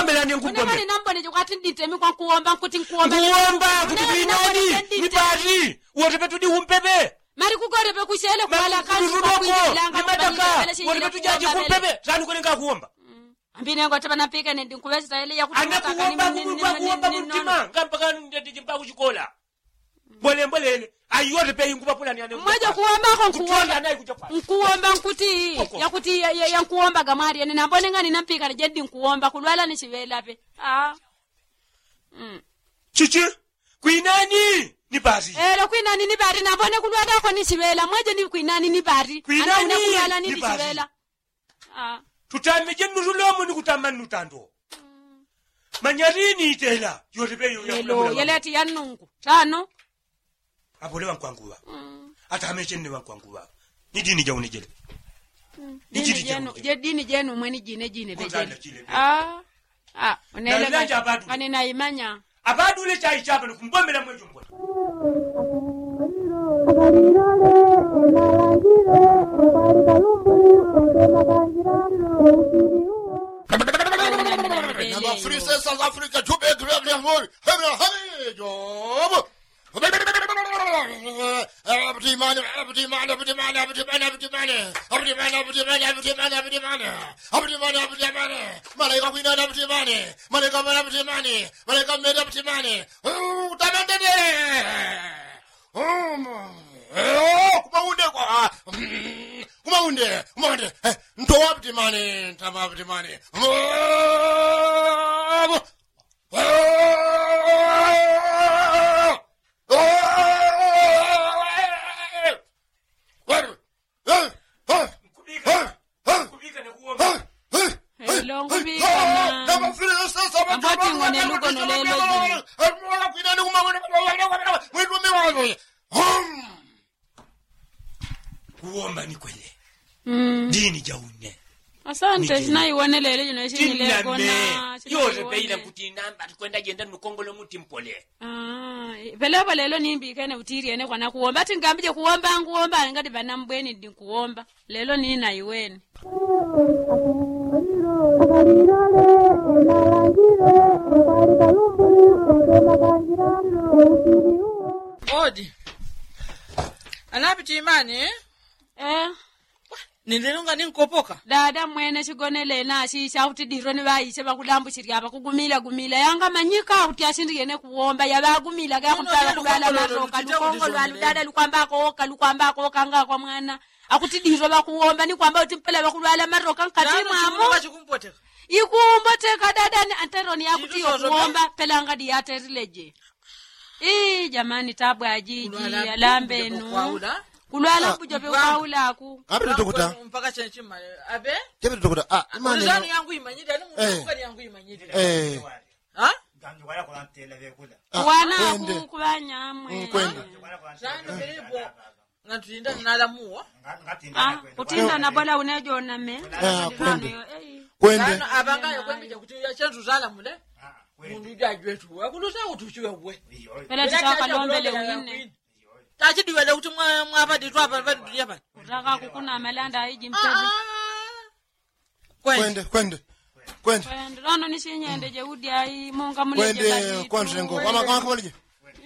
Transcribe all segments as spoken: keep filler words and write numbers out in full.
Mbelani nkumbombe. Nambone chikwati nditemi kwa nkuwomba nkuti nkuwomba. Nkuwomba kuti kwinani ni pati wotepe tudi umpepe. Mali kukolepe kushele kwala kazi kwakwijelanga ni madaka. Wotepe tujaji kumpepe sani kwelenga kuwomba. Ambine ngo tapa napika nindi nkuwesita ele yakuti anakuwomba kumwigwa kuwomba mumtima ngampaka ndeti chimpa kuchikola. Mbole mbole ene ayote pe ingupapula ni ane mweje kuwambako nkuwamba nkuwamba nkuti yakuti yankuwambaga mwali ene nambone ngani nampikana jedi nkuwamba kulwala ni chiwela pe. Chichi kwinani ni bari elo kwinani ni bari nambone kulwalako ni chiwela mweje ni kwinani ni bari kwinani kulwala ni chiwela. Tutameje nnutulomo ni kutama nnutando. Manyalini itela yotepe yo yeleti ya nnungu tano. Apole wankwanguwa atameche nne wankwanguwa ni dini jaunejele. Ni dini jenu mweni jine jine pejele. Unele kaninaimanya. Abadule chaichapa nikumbomela mwejo mbona. Malaika kwinana abutimani malaika mani abutimani malaika mmeri abutimani. Utamandene. Kumaunde kwa kumaunde kumaunde. Ntowa abutimani ntama abutimani. Kuwomba ni kwele. Dini jaune. Asante sinaiwone lelo jino isinyilekona. Yote peila kuti namba tukwenda jenda nukongolo muti mpole. Pelepo lelo nimbikene utilyene kwana kuwomba ati ngambije kuwomba nguwomba ngati panambweni ndi nkuwomba. Lelo ninaiwene. Odi. Anapiti imani. Nililunga ninkopoka. Dada mwene chigonelena chicha kuti diro ni ŵaiche ŵakulambuchilya ŵakugumila gumila yangamanyika kuti ashindikene kuwomba yaŵagumila gakutala kulwala maroka lukongo lwalu dada lukwamba akowoka lukwamba akowoka ngakwa mwana. Akuti diro ŵakuwomba ni kwamba kuti mpela ŵakulwala maroka nkati mwamo. Ikumboteka dada ni anteroni yakuti yokuwomba pelanga diyatelileje. Ii jamani tabu ajiji alambenu. Kulwala mbujo pe kwaulaku. Apita dokota. Mpaka chenchima abe. Chepita dokota ah imani. Yangu imanyire ni mukani yangu imanyire. Eh. Wanaku kubanyamwe. Kwenda. Sano pilipo. Ngatutinda nalamuwa. Kutinda nabola unejoname. Kwenda. Apanga yokwembija kuti yachentu zalamule. Mundu jajwetu wakulusa utuchiwe uwe. Pela tisakalombele wine. Tachidiwele kuti mwapaditwa apa paditulia pano. Utaka kukunama landa aiji mpele. Kwende kwende. Kwende. Kwende lano ni sinyende jeudi ai monga muli kwende. Kwende kwende ngo kwama kwama kwama lije.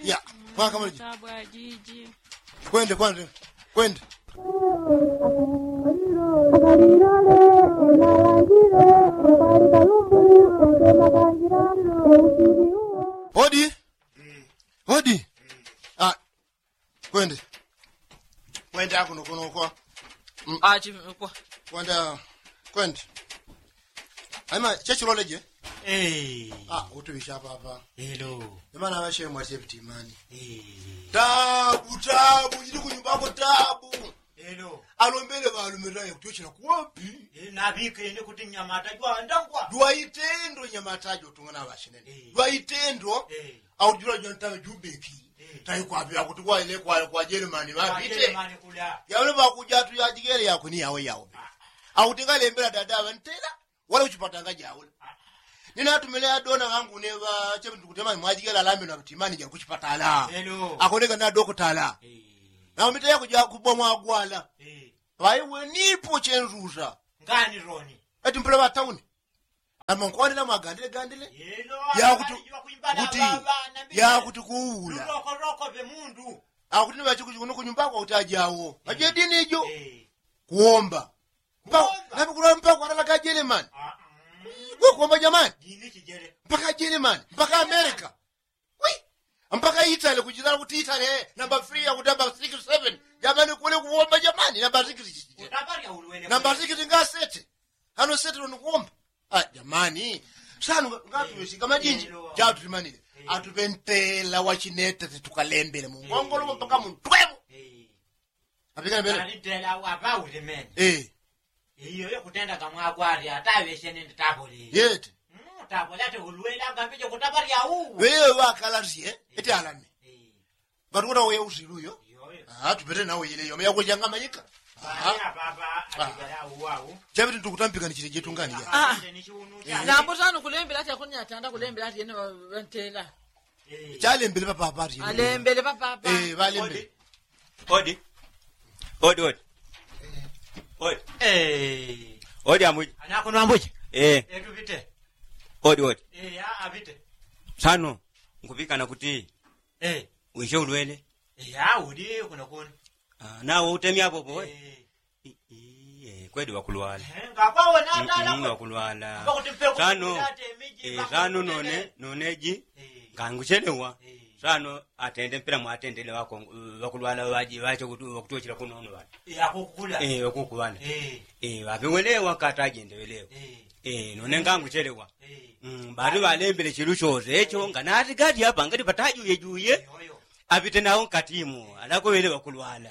Ya kwama kwama lije. Tabu ajiji. Kwende kwende. Kwende. Odi. Odi. Ah. Kwende. Kwende akuno kuno kwa. Achi kwa. Kwende. Kwende. Aima chechiloleje. Eh. Ah utuwisha papa. Hello. Imana washe mwashe vitimani. Eh. Tabu tabu ili kunyumbako tabu. Alombele ŵalumilila yakutyochela kuwapi? Nabikene kuti nyamata jwandangwa jwaitendo nyamata jotungana ŵachinene jwaitendo. Aujula jwantame jubeki. Taikwapi akuti kwaile kwa jeremani ŵapite. Yaule ŵakujatu yajigele yakwe ni yawe yawe. Akuti ngalembela dada ŵantela. Wala kuchipatala ngajaula. Ninatumile adona ŵangu neŵa chepe ndikutema mwajigela alambe na timani ja kuchipatala. Akoneka na dokotala. Na umite yakuja kubwa mwagwala. Ŵaiwe nipo chenzuza. Ngani roni. Eti mpula ŵatauni. Amonkwani namwagandile gandile. Yakuti kuti yakuti kuula. Akuti ni ŵachikuchi kuno kunyumbako akuti ajawo aje dini ijo. Kuomba mpaka mpaka analaka jeremani. Kuomba jamani. Mpaka jeremani mpaka amerika. Mpaka itale kuchitala kuti itale namba three akuti namba six seven. Jamani kule kuomba jamani namba six. Namba six ngasete. Ano sete lonikuomba. Jamani sanu ngatuwesika majinji. Jatutimanile atupentela wachinete titukalembele mungongolomo mpaka muntwemo. Apikale mbele alitela wapaulimene. Iyo yokutenda kamwakwali ataŵesye nindi tapoli yete. Tapoli ati ulwela ngambije kutaparya uwu. Wewe wakalasye eti alame. Ngati kuti auye usilu uyo. Tupete nawe ile yome yakuchanga mayika. Chaviti ntukutampikani chili jetungani ya. Nambo sanu kulembela ati akunyatanda kulembela ati yene ŵantela. Chalembele papapa ati alembele papapa. Ŵalembele. Odi. Odi odi. Odi. Odi ambuji. Anakono ambuji. Etupite. Odi odi. Apite. Sano nkupikana kuti wishe ulwele. Uli kuno kuno. Nawe utemya apopo. Kweli wakulwala. Wakulwala. Sano sano none noneji nganguchelewa. Sano atende mpela mwatendele wakulwala wakutochela kuno ono ŵana. Wakuku ŵana. Ŵaŵewelewa katajendewelewa. None nganguchelewa. Bati ŵalembele chilu chose echo nganati gati apa ngati patajuyejuye. Apite nawo nkatimu alakowele ŵakulwala.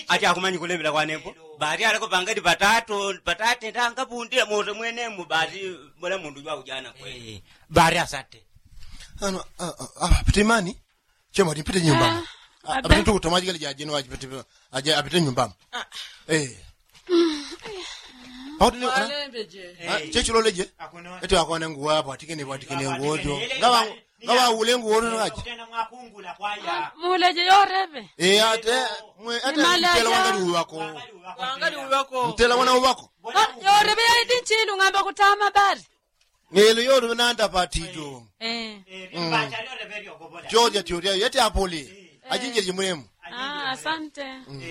Ati akumanyi kulembela kwanembo. Bati alako pangati patato patate ndangapundila mose mwenemu bati. Mona mundu jwaujana kweli. Bati asate. Ano apite imani. Chemwati mpite nyumbamo. Apite ntukutomwa ajikali jajeno apite nyumbamo. Pakuti chechiloleje. Eti akone nguwo apwatikene pwatikene nguwo jo. Ngaŵaule nguwo jo ngaje. Muleje yorepe. Ate mwe ate mtela wangali uŵako. Wangali uŵako. Mtela wana uŵako. Yorepe yaiti nchilu ng'amba kutama bari. Ngelo yorepe nanda patijo. Joja tioria yeti apole. Ajinjele jimulemu. Asante.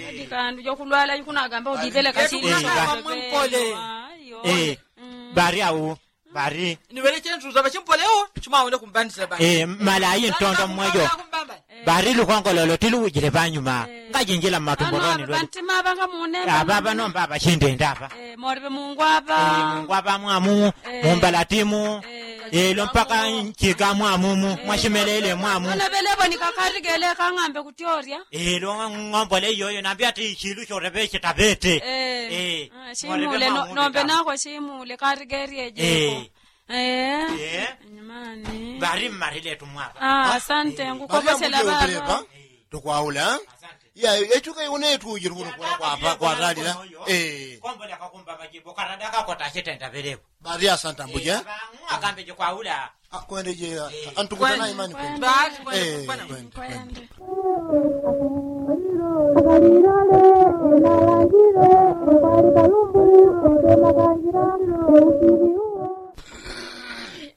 Adi kandu jokulwala ikunagamba udipele kachili. Bari au bari. Niwele chentu zaba chimpoleo chimawenda kumbandisila bari. Malayi ntondo mmwejo. Bari lukongololo tiluwujile panyuma. Ngajinjila mmatumbo loni lwe. Apapa nomba apachindenda apa. Mungwapa mwamumu. Mumbalatimu. Ilo mpaka nchiga mwamumu mwashimelele mwamumu. Ilo ng'ombole iyoyo nambi ati ichilu chorepe chitapete. Shimule nombe nako shimule karigerie jeko. Bari mmarile tumwapa. Asante ngukopesela baba. Tukwaula. Echuka iwone etujire kuno kwatalila. Komboleka kumba majibu karada kako tachitenda pelepo. Bati asanta mbuje. Akambe jikwaula. Kwende je. Antukutana imani kwende. Kwende.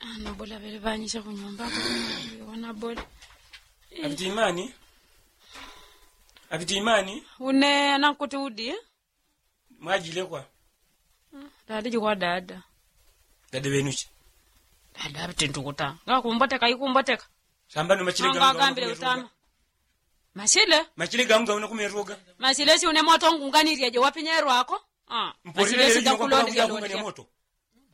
Ana bola bele banyisha kunyumba wana bola. Apiti imani. Apiti imani. Une anankuti udi. Mwajilekwa. Dada jikwa dada. Dada wenuchi. Dada apiti ntukuta ngakumboteka ikumboteka. Sambano machile gangambile utama. Machile machile gangu gauna kumeroga. Machile si une moto ngunganiryeje wapinyerwako. Machile si gakulondiryalondya.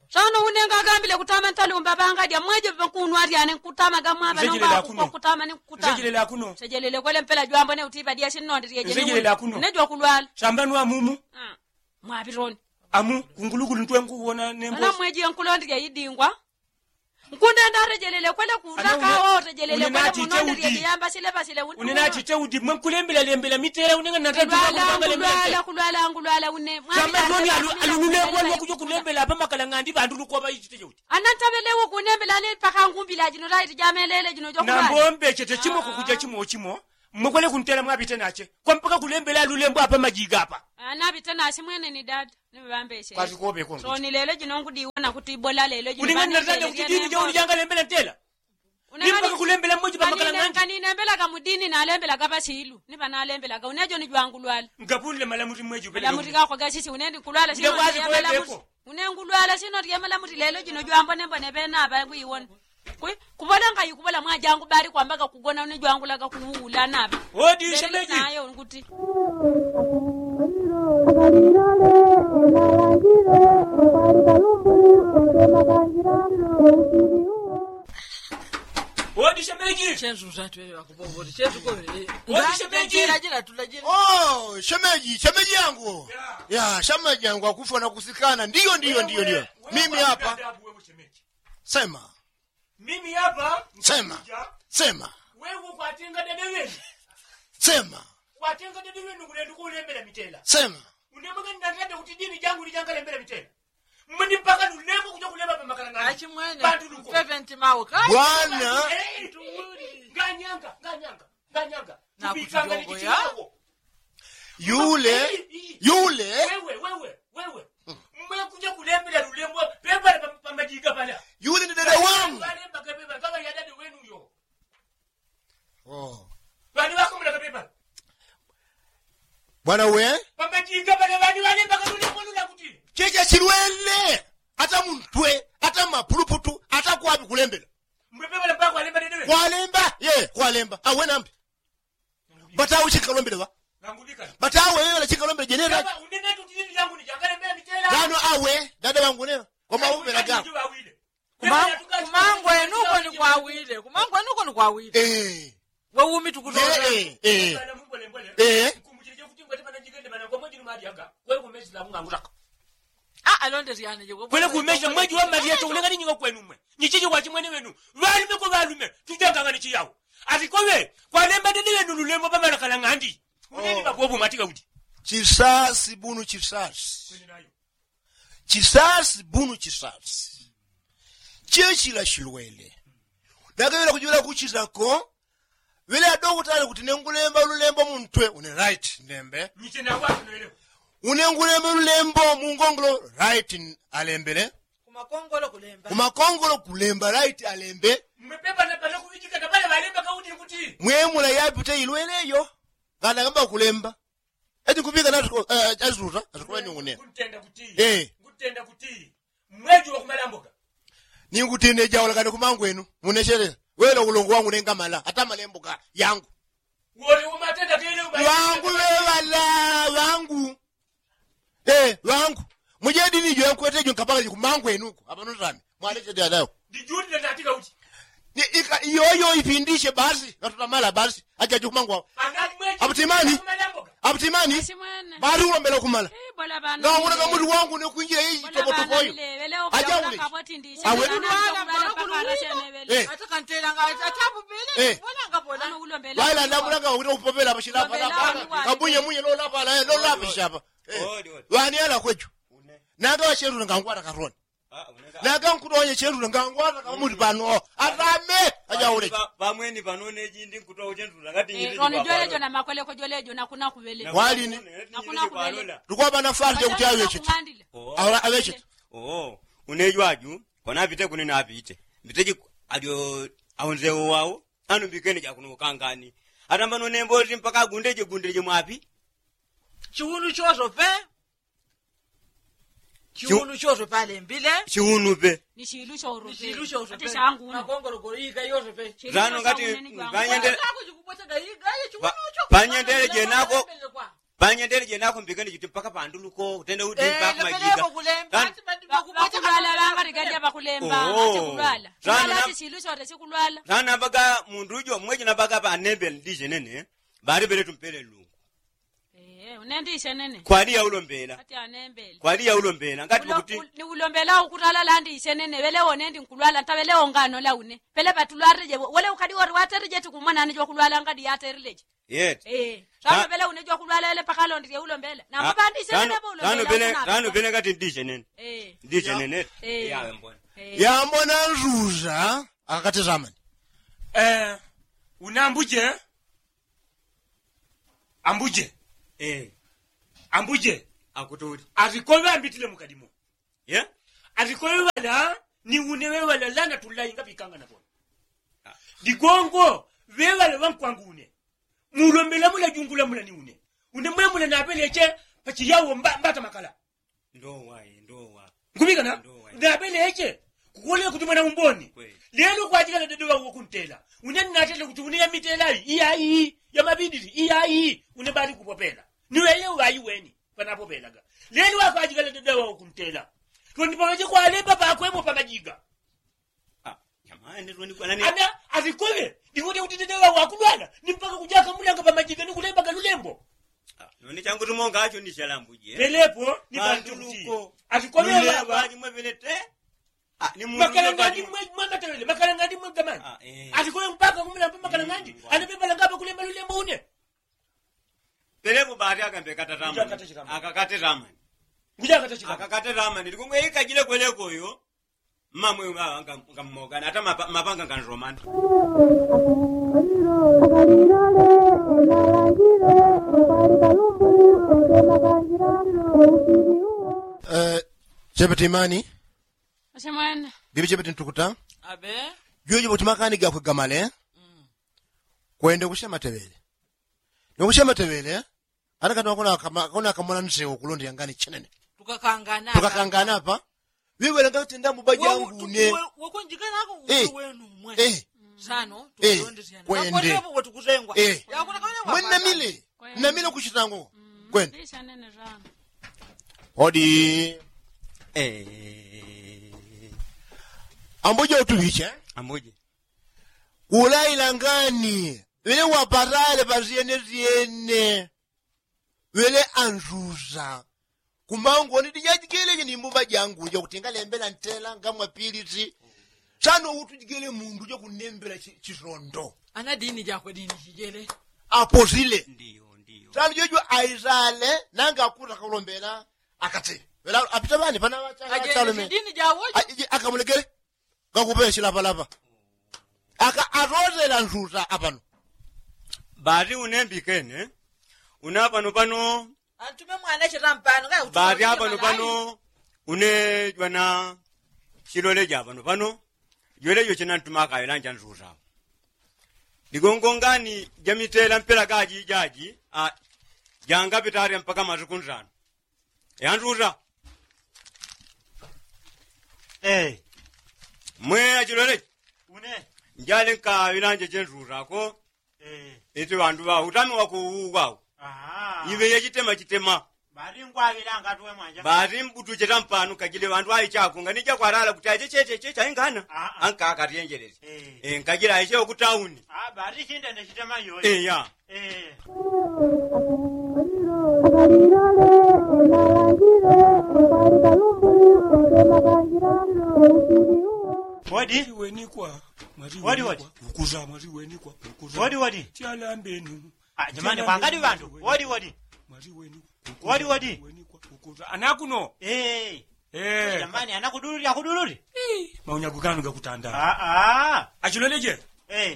Sono une ngagambile kutama ntalumba ŵangadya mweje ŵakunwa alyane nkutama gamwaŵa nomba kutama ni nkutama. Sejelele kwele mpela jwambo ne utiŵa dya sinnondilyeje. Nejo wakulwala. Samba nwa mumu. Mwaŵiloni. Amu kungulukulu ntwe nkuwona nembo. Ana mweje nkulondilya idingwa. Nkundenda atejelele kwele kutaka otejelele kwele munondilyeje yamba sileŵasile. Une natite udi mwe nkulembela lembela mitela une nganatatu. Kulwala kulwala une. Samba nwa alunule kwele wakujo kulembela apa makala ng'andi ŵandu lukoŵa ichite cheuti. Anantaŵelewo kunembela ane paka ngumbila jino laiti jamelele jino jokulwala. Nambo mbechete chimo kukuja chimo chimo. Mwekwele kuntela mwapite nache kwa mpaka kulembela lulembo apa majiga apa. Anapite nache mwene ni dada. Nipambeshe kwati kope kongo. Soni lelo jino nkudiwona kuti bola lelo jino uningani natanda kuti dini jauli jangalembela ntela. Ni mpaka kulembela mweji pamakala ng'andi. Kaninembelaga mudini nalembelaga pasilu nipanalembelaga unejo ni jwangulwala. Ngapundile malamuti mweji upeleka malamuti gakwa gasisi unendi kulwala sino ndiye malamuti. Une ngulwala sino ndiye malamuti lelo jino jwambonembone pena apa kwiwona. Kupola ngayi kupola mwajangu bali kwambaga kugona une jwangulaga kuwuula napa. Odi shemeji. Nayo nkuti. Odi shemeji. Chenzu zatwele wakupopoti chenzu kole. Odi shemeji. Jila tula jila. Oh shemeji shemeji yangu. Ya shemeji yangu akufa na kusikana ndiyo ndiyo ndiyo ndiyo. Mimi hapa. Sema. Mimi hapa. Sema. Sema. Wewe kwatenga dede wenu. Sema. Kwatenga dede wenu kulendu kulembela mitela sema. Unemwenge ndandande kuti dini jangu lijangalembela mitela. Mmweni mpaka lulembo kuja kulemba pamakala ng'andi. Achimwene. Bwana. Nganyanga nganyanga nganyanga. Yule yule. Wewe wewe wewe. Mmwe kuja kulembela lulembo pepala pamajiga pala. Yule ni dada wangu. Bwana we. Pamajiga pala bani wale mpaka lulembo lula kuti. Cheche silwele. Ata muntwe ata mapuluputu ata kwapi kulembela. Kwalemba ye kwalemba awe nambi. Batawe chikalombele ba. Batawe yela chikalombele jenera. Gano awe dada wangu nena. Kwamaupela gano. Kumangwenuko ni kwawile kumangwenuko ni kwawile. Wewumi tukutola. Kwele kumesha mweji wa malyeto ulengani nyinga kwenumwe nyichichi kwachimwene wenu. Ŵalume kwa ŵalume tujangang'ani chiyawo. Ati koŵe kwalemba dede wenu lulembo pamalakala ng'andi. Uneni ŵakuwo bumati gaudi. Chisasi bunu chisasi. Chisasi bunu chisasi. Chichila shilwele. Nagewela kujula kuchizako. Ŵele adokutale kuti nengulemba ululembo muntwe une right ndembe. Une ngulemba ululembo mungongolo right alembele. Kumakongolo kulemba right alembe. Mwemula yapite ilwele iyo. Nganagamba kulemba. Eti nkupika nasuta asuta ningune. Mweji wakumalamboka. Ningutine jaula kani kumangwenu munechelela. Wela ulongo wangu nengamala ata malemboka yangu. Wangu weŵala wangu. Wangu. Mujedi nijo yankwete jo nkapaka jikumangwenuko apanotami. Mwalechete adayo. Iyoyo ipindishe basi ngatutamala basi. Ajaji kumangwa. Abutimani. Abutimani. Bari ulombela kumala. Ngawona kamuti wangu nekwinjila iyi topotopoyo. Ajaule. Awe. Baila ndamulanga wawita kupopela pashilapa. Kabunye munye lolapala lolapishapa. Ŵani ala kwejo. Nanga wacherule ngangwata karoni. Nanga nkutonya cherule ngangwata kamuti pano. Atame. Ajaule. Pamweni pano nejindi nkutonya cherule ngati nyindi. Roni jolejo na makweleko jolejo nakuna kuŵele. Walini. Nakuna kuŵele. Tukwapa nafasi jakuti aŵechete. Aŵechete. Unejwaju. Kona apite kune napite. Mbiteji. Alyo. Aunzewo wawo. Anu mbikene jakuno kangani. Atamba nonembo oti mpaka agundeje gundeje mwapi. Chiwunu choso pe. Chiwunu choso pe alembile. Chiwunu pe. Ni chilu choso pe. Makongolokolo iga yoso pe. Zano ngati. Panyendele. Panyendele jenako. Panyendele jenako mbikene jiti mpaka panduluko utende uti mpaka majiga. Bakulwala. Bakulwala. Zano nabaga mundu ujo mweji nabaga panembele ndije nene. Bari bele tumpele lungu. Kwali yaulombela. Kwali yaulombela ngati kuti. Ni ulombela ukutala landi isenene ŵele wonendi nkulwala ntaŵele wongano laune. Pele patulwaleje wele ukadi wori watereje tikumwanani jwakulwala ngadi yatereje. Yeti. Sano pele une jwakulwala wele pakalondile ulombela. Nangupandisano pele ngati ndisenene. Ndisenene. Yambona nzuza akakatizamani. Unambuje. Ambuje. Ambuje. Akutuli. Atikove ambitile mukadimo. Atikove ŵala ni une ŵeŵala lana tulainga pikanga nakono. Digongo ŵeŵala ŵankwangu une. Mulombela mula jungula mula ni une. Une mwemula napeleche pachiyawo mbata makala. Nkuŵikana. Napeleche kukuwoneka kuti mwana umboni. Lelo kwajikana dede ŵawo kuntela. Une natela kuti une yamitela iyi iyayi yamabidili iyayi. Une bali kupopela niweye uŵayi weni panapopelaga. Lelo akwajikana dede ŵawo kuntela. Twendipakache kwalemba pakwemo pamajiga. Ana atikove. Ndikuti kuti dede ŵawo akulwala ni mpaka kujaka mulanga pamajiga ni kulembaga lulembo. None changu tumonga acho ni chalambuje pelepo ni pantu kuti atikove ŵawa. Makalangandi mwe mwamatewele makalangandi mwe gamani. Atikove mpaka kumulambo makalangandi. Anapepalanga apa kulemba lulembo une. Pelepo bati akambekatatamani. Akakatetamani. Akakatetamani likumwe ikajile kwelekoyo. Mmamwe ngammogana ata mapanga nganromana. Chepeti imani. Bibi chepeti ntukuta. Juejo poti makani gakwe gamale. Kwende kusha matewele. Nokusha matewele. Ata kati wakona akamona nsewo kulonda yangani chenene. Tukakangana apa. Ŵiwele ngati ndambuba jangu une. Kwende. Mwenamile. Namile kuchitango. Kwende. Odi. Ambuje utuŵiche. Ambuje. Ulaila ngani. Ŵele wapatale pasyenesyene. Ŵele anzuza. Kumangoni dijajigeleje ni mbuba jangu jakuti ngalembela ntela ngamwapiliti. Sano utujigele mundu jakunembela chisondo. Ana dini jakwe dini jijele. Aposile. Sano jojo aisale nanga akuta kalombela. Akatile ŵela apita ŵani pana ŵachalome. Akamulegele. Ngakupela chilapalapa. Aka atozela nzuza apano. Bati une mbikene. Une apano pano. Antume mwana chitampano. Bati apano pano. Une jwana chilole ja apano pano. Jwele jo chena ntuma akayela nja nzuza. Ligongo ngani jamitela mpela gaji jaji. Jangapita arya mpaka matuku nsano. Yanduta. Mwe achilole. Njale nkaŵilanje chenduta ko. Iti ŵandu ŵa utami wakuuwukwau. Iŵe yachitema chitema. Bati mbutu chetampanu kajile ŵandu aichako nganija kwalala kuti achechecheche chaingana. Ankakatyenjelele. Nkajila aichewo kutauni. Bati chindende chitema yoyo. Eya. Wodi wodi. Wodi wodi. Ukuza mwati wenikwa ukuza wodi wodi. Chalambenu. Jamani kwangadi ŵandu wodi wodi. Mwati wenikwa. Wodi wodi. Anakuno. Jamani anakudululi akudululi. Maunyagukano gakutanda. Achiloleje.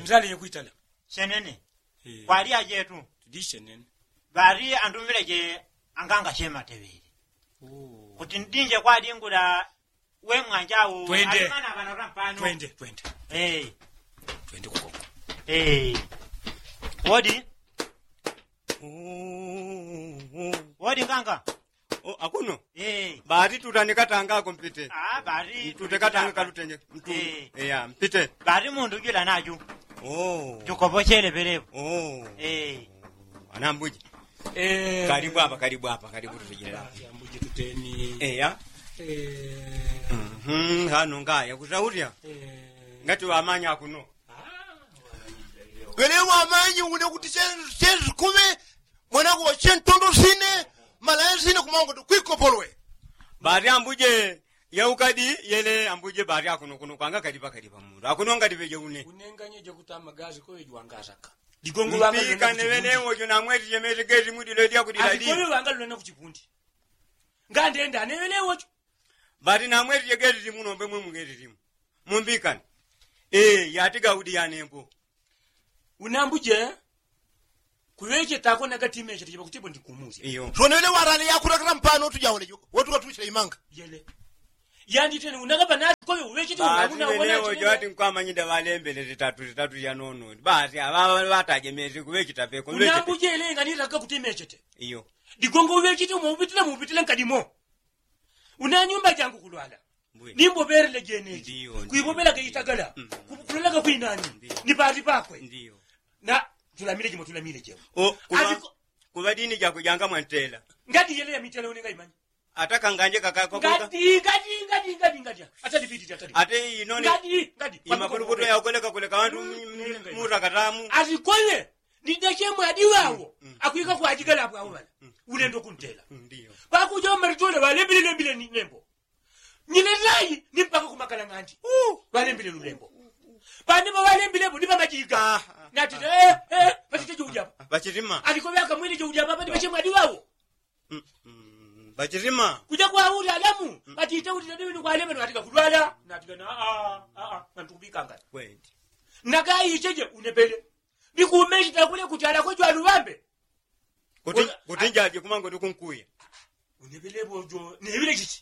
Ndale yekwitala. Senene. Kwali ajetu. Tudishe nene. Ŵali andumile je anganga chema teŵele. Kuti ndinje kwadingula. We mwanjau twende. Alimana ŵana ŵampano twende twende. Twende kukoko. Wodi. Wodi nganga. Akuno. Bati tutanikatanga ako mpite. Tutekatanga kalutenge. Eya mpite. Bati mundu jula naju. Jukopochele pelepo. Anambuji. Kalibu apa kalibu apa kalibu tutejelela. Eya. Hano ngaya kusaulya. Ngati wamanya akuno. Wele wamanyi une kuti chenzi kume. Mwanangu wache ntondo sine. Malaya sine kumangoti kwikopolwe. Bati ambuje. Yaukadi yele ambuje bati akuno kuno kwanga kalipa kalipa mundu akuno ngati peje une. Unenganyeje kuti amagazi kowe jwangasaka. Digongo wanga lwena kuchipundi. Mpikane wene wojo namwetije mete geti mudi lwedya kudiladi. Adikowe wanga lwena kuchipundi. Ngandenda ne wene wojo. Bati namwetije geti timu nombe mwe mugeti timu. Mumbikane. Yatiga udi yanembo. Unambuje. Kuŵecheta ako nagati mechete jipakutipo ndikumuusya iyo. Sonele warale yakulakala mpano tujawolejo wotukatuchila imanga. Yele. Yanditene unakapa nati koyo uŵechete unaunawechete. Nkwamanyida ŵalembele titatu titatu janono basi aŵaŵa ŵataje mese kuŵecheta peko. Unambujele nganilaka kuti mechete iyo. Digongo uŵechete umo upitile muupitile nkadimo. Una nyumba jangu kulwala. Nimboŵelele jeneji kwivovela gaitagala. Kulolaga kwinani ni pati pakwe. Na tulamile jimo tulamile jemo. Kuŵa dini jako janga mwantela. Ngati yele yamitela unenga imanya. Ata kanganje kakakokota. Ngati ngati ngati ngati ngati ata lipititi ata lipititi ata inone. Ngati ngati imapuluputo yakoleka koleka wantu. Mutakatamu. Asikole. Nidachemwe adiwawo akwika kwajigala apwawo ŵala. Ulendo kuntela. Pakuja maritole ŵalembile lembile ni nembo. Nyine layi ni mpaka kumakala ng'andi. Ŵalembile lulembo. Panima ŵalembilepo ni pamajiga. Natite eh eh patite joujapa. Pachirima aliko ŵaka mwine joujapa pati pachemwe adiwawo. Pachirima kuja kwauli alamu. Patite ulile diwini kwalemeno atika kulwala natika na a a a nantukubikangana. Nakayicheje unepele. Ndikumechita kule kuti alakwe jwaluŵambe. Kuti njaje kumango ndikunkuya. Unepele bojo neŵile chichi.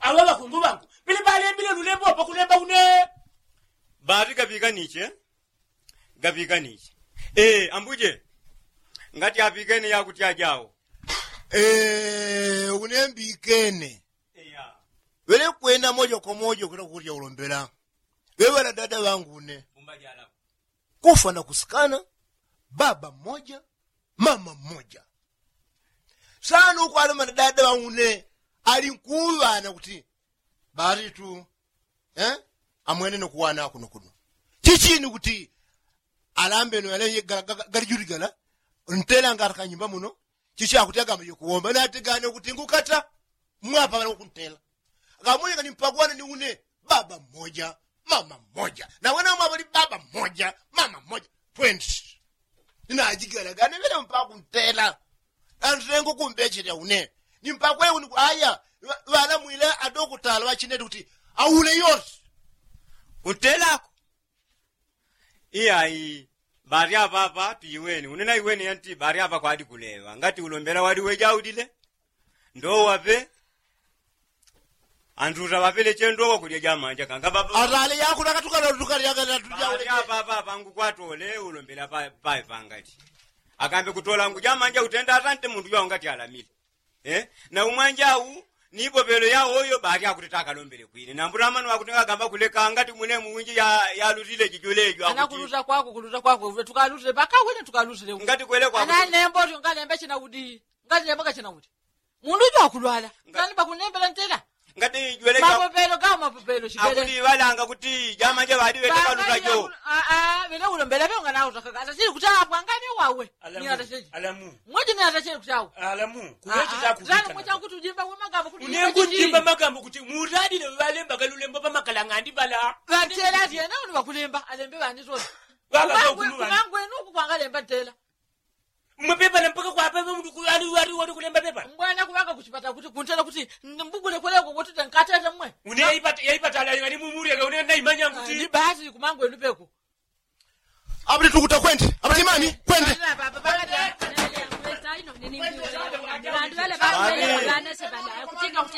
Aŵa ŵakungu ŵangu pele ŵalembile lulembo pakulemba une. Bati gaŵikaniche. Gaŵikaniche. Ambuje. Ngati aŵikene yakuti ajawo. Une mbikene. Ŵele kwenda moja kwa moja kwenda kukulya ulombela. Ŵeŵe ŵana dada ŵangu une. Kufa na kusikana. Baba mmoja mama mmoja. Sana ukwalema na dada ŵangu une. Ali nkuŵana kuti baritu amwene nokuwana kuno kuno. Chichini kuti alambeno yale galijuli gala. Ntela ngati kanyumba muno. Chichi akuti agamba yokuwomba natigane kuti ngukata. Mwapa ŵala wakuntela. Akamunyika ni mpagwana ni une. Baba mmoja mama mmoja na wena mwaŵali baba mmoja mama mmoja. Twenty. Ninajigalagane ŵele mpakuntela. Antengo kumbecheta une ni mpakwe une aya. Ŵala mwile adokutala ŵachineti kuti aule yose. Kuntelako. Iyayi. Ŵali aŵaŵa tujiweni une naiweni yanti ŵali aŵa kwadi kuleŵa ngati ulombela wali wejaulile. Ndowaŵe. Antuta ŵapeleche ndowa kulya jamanja kanga ŵaŵa. Atale yakulaka tukalatukalya kata tujaulile. Ŵali aŵaŵa ŵangu kwatole ulombela paepangali. Akambe kutola ngu jamanja utenda atante mundu jwawo ngati alamile. Na umwanjau ni ipovelo yawoyo ŵali akuteta akalombele kwine nambuta amanu akuti ngagamba kuleka ngati mwine muwinji yalutile jijulejo. Ana kuluta kwako kuluta kwako tukalutile ŵakawene tukalutile. Ngati kwele kwako ana nembo ngalembe china udi. Ngalembe ngachina udi. Mundu ujo akulwala. Ngani ŵakunembela ntela. Ngati jwele mapopelo gawo mapopelo chipele akuti ŵalanga kuti jamanja ŵali ŵele kaluta jo. Aa ŵele ulombela ŵewo nganauta kaka atachili kuti apwa ngani wawe. Ni atachili. Alamu. Mweji ni atachili kuti awe. Alamu kuweche chakuwikana. Kuti ujimba wemagambo kuti une ngujimba magambo kuti muralile ŵalembaga lulembo ŵamakala ng'andi ŵala. Ŵantela atyena uni ŵakulemba alembe ŵani tona. Ŵakakakulu ŵani. Kumangu enu uku kwangalemba ntela. Mmwe pepala mpaka kwapeva mundu kuŵali wali wali kulemba pepala. Mbwana kuŵanga kuchipata kuti kuntela kuti mbugule kweleko kuti tenkatete mmwe. Une yaipata yaipata ala ngani mumurega une naimanya kuti ni basi kumangwe lupeko. Abuli tukuta kwende abuli mani kwende.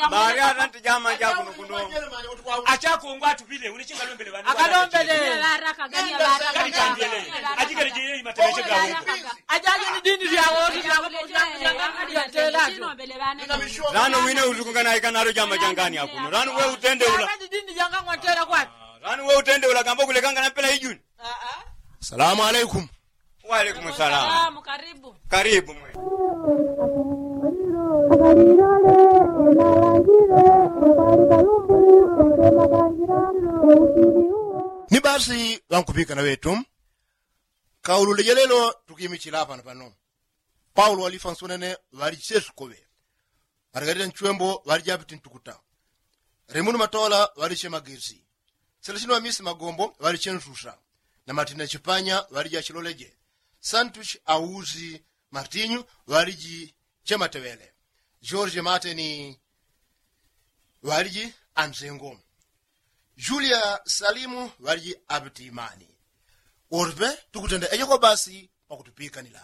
Bali atanti jama jakuno kuno. Achakongwa atupile une chingalombele ŵana akalombele. Ajikele jeye imatemeshe gawo. Ajaje ni dini lyawo. Lano wine utukungana ikanalo jama jangani akuno lano we utende ula. Lano we utende ula kamba kulekangana mpela ijuni. Salamu alaikum. Walaikum salamu. Karibu mwe. Ni basi ŵankupikana ŵetu. Kaulule jalelo tukimichila pano pano. Paulo walifa nsonene ŵali chesukoŵe. Margarita nchwembo ŵali japiti ntukuta. Remunu matola ŵali chemagesi. Selesino amisi magombo ŵali chensusa. Na martina chipanya ŵali jachiloleje. Santuchi ausi martinyu ŵali ji chemateŵele. Jorje mateni ŵali ji anzengo. Julia salimu ŵali ji apiti imani. Orpe tukutenda ejoko basi. wakutupikanila.